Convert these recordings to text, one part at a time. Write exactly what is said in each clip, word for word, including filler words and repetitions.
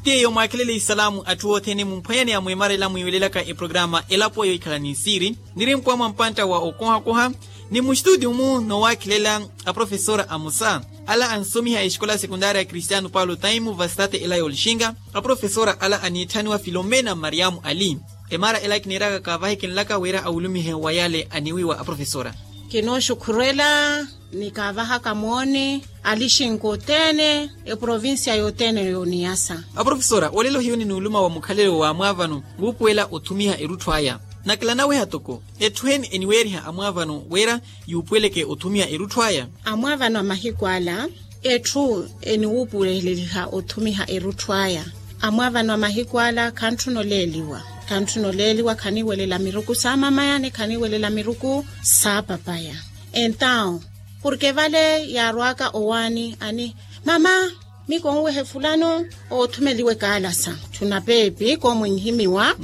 Tiyo mwaakhelele isalaamu atthu othene mumphwanyani amwemarela mwiiwelelaka eprokarama elapo yohikhala ni nsiiri. Niri mpwamwa mpantta wa okohakoha ni mustutiyu-mu nowaakhelela aprofesora amosa ala ansomiha exikola sekuntaari ya kristiano paulo taimu vastate ela yoolixinka. Aprofesora ala aniitthaniwa filomena mariamu ali. Emaara ela kiniiraka kaavahe kinlaka wira awulumihe wa yale aniwiiwa aprofesora. Kinooxukhurela ni kaavahaka mooni alixinka othene eprovincia yothene yooniyasa. Aprofesora olelo hiyo ni nuuluma wa mukhalelo wa amwaavano wuupuwela othumiha erutthu aya. Nakela naweha toko etthu eni eniweeriha amwaavano wira yuupuweleke othumiha erutthu aya. Amwaavano a mahiku ala etthu eniwuupuweleliha othumiha erutthu aya. Amwaavano a mahiku ala khantthuna oleeliwa. Khantthuna oleeliwa khaniiwelela miruku saamamaya ni khaniiwelela miruku saapapaya. Entawu porke vale yaarwaka owaani ani mama, mi konwehe fulano oothumeliwe kaalasa. Tthuna peepi koomwinhimiwa.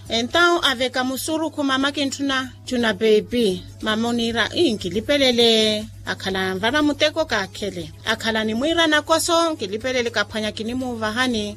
Entawu aveka musurukhu mama kintthuna. Tthuna peepi mama oniira ii nkilipelele. Akhala anvara muteko kaakhele akhala animwiira nakoso nkilipelele kaphwanya kinimuuvahani.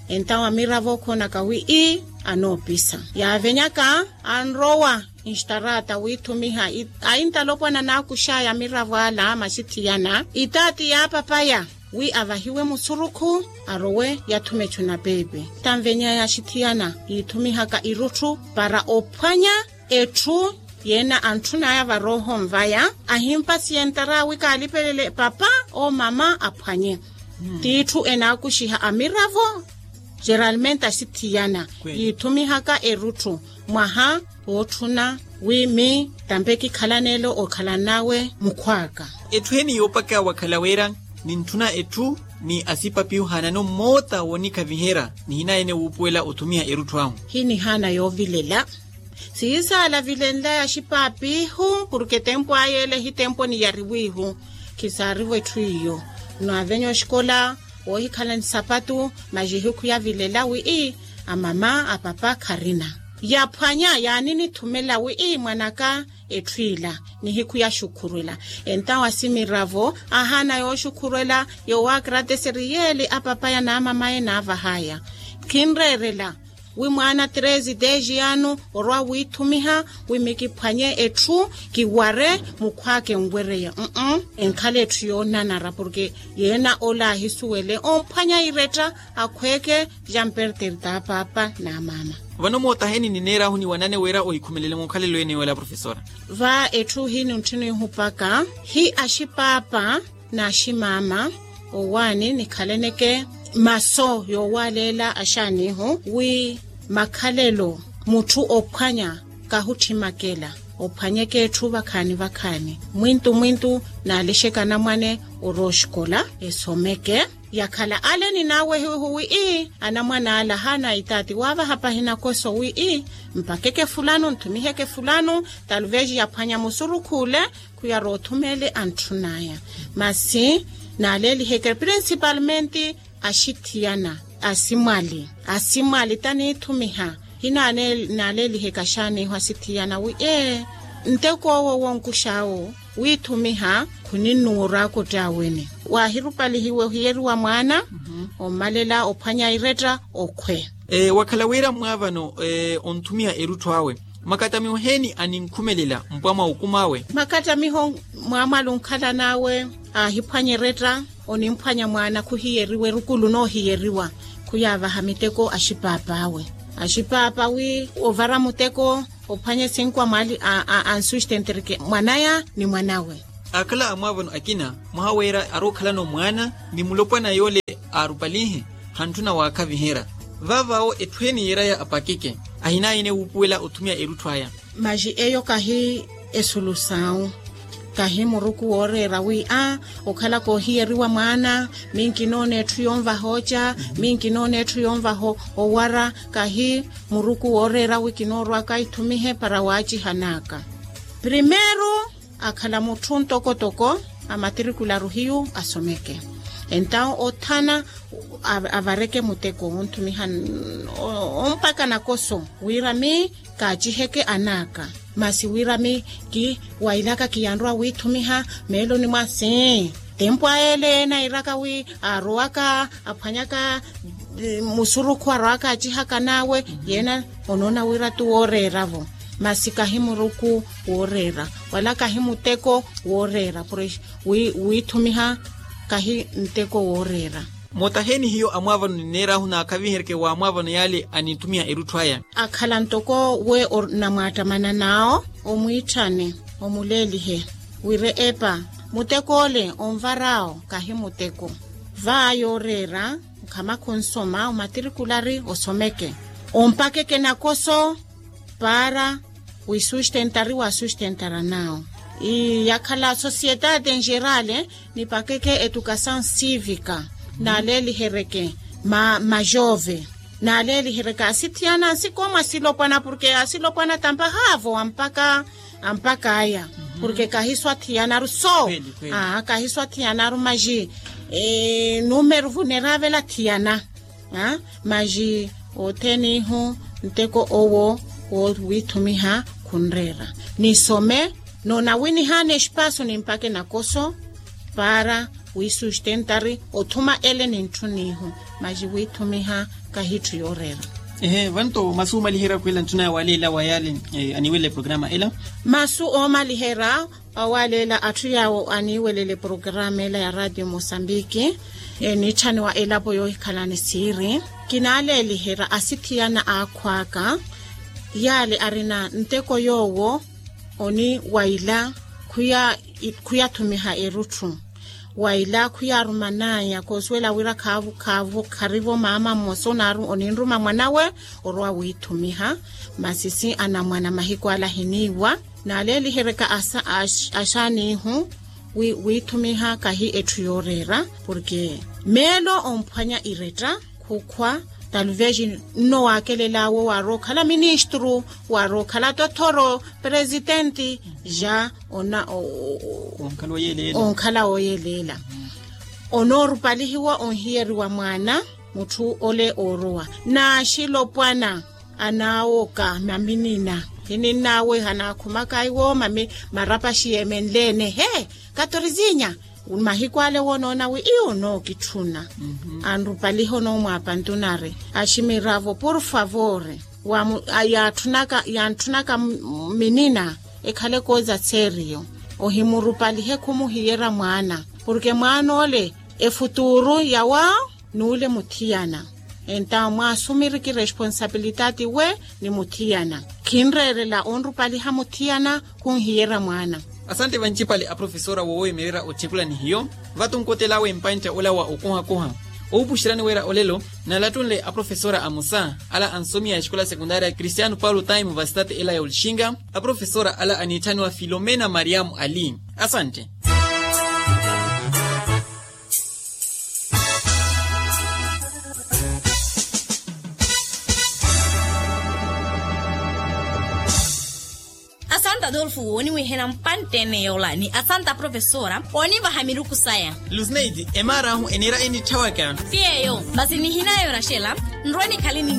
Entawu amiravo okhonaka wi ii anoopisa yaavenyaka anrowa nxtarata wiithumiha. Aintalopwana naakuxaya amiravo ala masi thiyana itaati yaapapaya wi avahiwe musurukhu arowe yathume tthuna peepi. Tanvenyaya axithiyana yiithumihaka irutthu para ophwanya etthu yeena antthunaya varooho nvaya. Ahimpasiye ntara wi kaalipelele papa oo mama aphwanye. Tiitthu enaakuxiha amiravo geralmente axithiyana yiithumihaka erutthu mwaha wootthuna wi mi tampe kikhalanelo okhalan'awe mukhw'aka. Etthu eni yoopaka wakhala wira nintthuna etthu ni asipapi ohaanani ommoota woonikhaviherya nihinaye ene wuupuwela othumiha erutthu ahu. Hinihaana yoovilela siisaala vilenlaya axipaapihu porke tempo aya ele hi tempo niyariwihu. Khisaarivo etthu iyo nwaavenya oxikola woohikhala ni sapatu masi ehikhu yavilela wi ii amama apapa kharina yaphwanya yaaninithumela wi ii mwanaka etthu ila nihikhu yaxukhurwela. Entawu asimiravo ahaana yooxukhurwela yoowaakrateseri yeeli apapaya naamamaye naavahaya khinreerela wi mwaana treze dez ano orwa wiithumiha wi mi kiphwanye etthu kiware mukhw'aka enwereya enkhala etthu yoonanara porke yeena ola ahisuwele omphwanya iretta akhweeke jamperter t'apaapa n'amaama. Vano mootaheni nineerahu ni wanane wira ohikhumelele mukhalelo ene yoole aprofesora. Va etthu hi nintthunihu paka hi axipaapa n'aximaama owaani nikhaleneke maso yoowaaleela axaanihu wi makhalelo mutthu ophwanya kahutthimaka ela ophwanyeke etthu vakhaani vakhaani mwintu mwintu naalixeke anamwane orooxikola esomeke yakhala ale ninaawehiwihu wi ii anamwane ala haana itaati waavaha pahina koso wi ii mpakeke fulano ntthumiheke fulano taluvesi yaphwanya musurukhu ole khuyari othumele antthun'aya. Masi naaleeliheke principalmente axithiyana asimwali asimwali taniithumiha hinaaleeliheka xaaniiho asithiyana wi ee nteko owo wonkux'awo wiithumiha khuninnuwa oraakoti aweni waahirupalihiwe ohiyeriwa mwaana ommalela ophwanya iretta okhwe. Wakhala wira mwaavano onthumiha erutthu awe makattamiho heeni aninkhumelela mpwa mwa okumi awe? Makattamiho mwaamwali onkhalan'awe aahiphwanya eretta onimphwanya mwaana khuhiyeriwa erukulu noohiyeriwa khuyaavaha miteko axipaapawe axipaapa wi ovara muteko ophwanye sinkwa mwaali ansustentereke mwanaya ni mwanawe. Akhala amwaavano akina mwaha wira ari okhalano mwaana ni mulopwana yoole aarupalinhe hantthuna waakhaviherya vaavawo etthu eni yiiraya apakeke ahinayene wuupuwela othumya erutthu aya. Masi eyo kahi esulu sawu kahi muruku wooreera wi a okhala koohiyeriwa mwaana mi nkinoona etthu yonvahooca mi nkinoona etthu yonvaha owara kahi muruku wooreera wi kinoorwaka ithumihe para waacihan'aka primeiro akhala mutthu ntokotoko amatirikularu hiyu asomeke entawo othana avareke muteko wonthumiha ompaka nakoso wira mi kaaciheke an'aka masi wira mi kiwailaka kiyanrowa withumiha meeloni mwa sii tempo aele nairaka wi aarowaka aphwanyaka Musurukhu arwaka acihaka nawe, yena onoona wira tu wooreera-vo. Masi kahi muruku wooreera, wala kahi muteko wooreera pure. Wiithumiha kahi nteko wooreera. Mootaheni hiyo amwaavano nineeraahu naakhavihereke wa amwaavano yaale aninthumiha erutthu aya. Akhala ntoko we onamwaattamana naawo, omwiitthane, omuleelihe wira epa, muteko ole onvaraawo kahi muteko. Vaa yooreera, nkhama khunsoma omatirikulari osomeke, ompakeke nakoso paara wisustentari wasustentara naawo. Ii yakhala societade engerale, nipakeke etukasaw sivika, naaleelihereke majove, naaleelihereke asithiyana nsikoomo asilopwana porke asilopwana tampahaavo ampaka ampaka aya. Porke kahiso athiyanaru so kahiso athiyanaru maji. Numeru vuneravela athiyana maji othenihu nteko owo wowiithumiha khunreera. Nisome noonawinihana espaaso nimpake nakoso paara wisustentari othuma ele nintthunihu. Maji wiithumiha kahi itthu yooreera. Ehe vanto masi omaliherya khwela ntthuna ya waleela wa yaale aniiwelele programa ela. Masi oomaliherya awaleela atthu yaawo aniiwelele programa ela ya radio mosambiki. Eniitthaniwa elapo yoohikhalani siiri kinaaleeliherya asithiyana aakhw'aka yaale arina nteko yoowo oni waila khuyathumiha erutthu. Waila khuyaaruman'aya koosuwela wira khaavu khaavu kharivo maama mmosa onaaru oninruma mwanawe orwa wiithumiha. Masi si anamwana mahiku ala ahiniiwa naaleeliheryaka axaanihu wiithumiha kahi etthu yooreera porke meelo omphwanya iretta khukhwa. Taluvexi nno waakelel'awe waar'okhala ministru waar'okhala tothoro presitenti ja onkhala wooyeleela. Onoorupalihiwa onhiyeriwa mwaana mutthu ole oorowa n'axilopwana anaawoka maminina. Hininn'awe hanaakhumaka iwo mami marapaxi yeemenle-ene he katorizinya. Mahiku ale woonoona wi iyo onookitthuna anrupaliha onoomwaapa ntunari aximiravo por favor. Yaantthunaka minina ekhale kooza seeriyo ohimurupalihe khumuhiyerya mwaana porke mwaana ole efutuuru yawaawo n'ule muthiyana. Entawo mwaasumiriki responsabilitati we ni muthiyana khinreerela onrupaliha muthiyana khunhiyerya mwaana. Asante vancipale aprofesora woowemererya otthikulani hiyo. Vatunkotel'awe mpantta ola wa okohakoha owupuxeryani wira olelo nalattunle aprofesora amosa ala ansomiha exikola sekundaria cristiano paulo time vasitati ela ya olixinga. Aprofesora ala aniitthaniwa filomena mariamu ali. Asante. Asanta adolfo wooniwihela mpantte-ene yola ni asanta profesora oonivaha miruku saya. Lusneidi emaar'ahu eniira eniitthawaka. Ti eyo masi nihinaya oraxela nrwe nikhale ni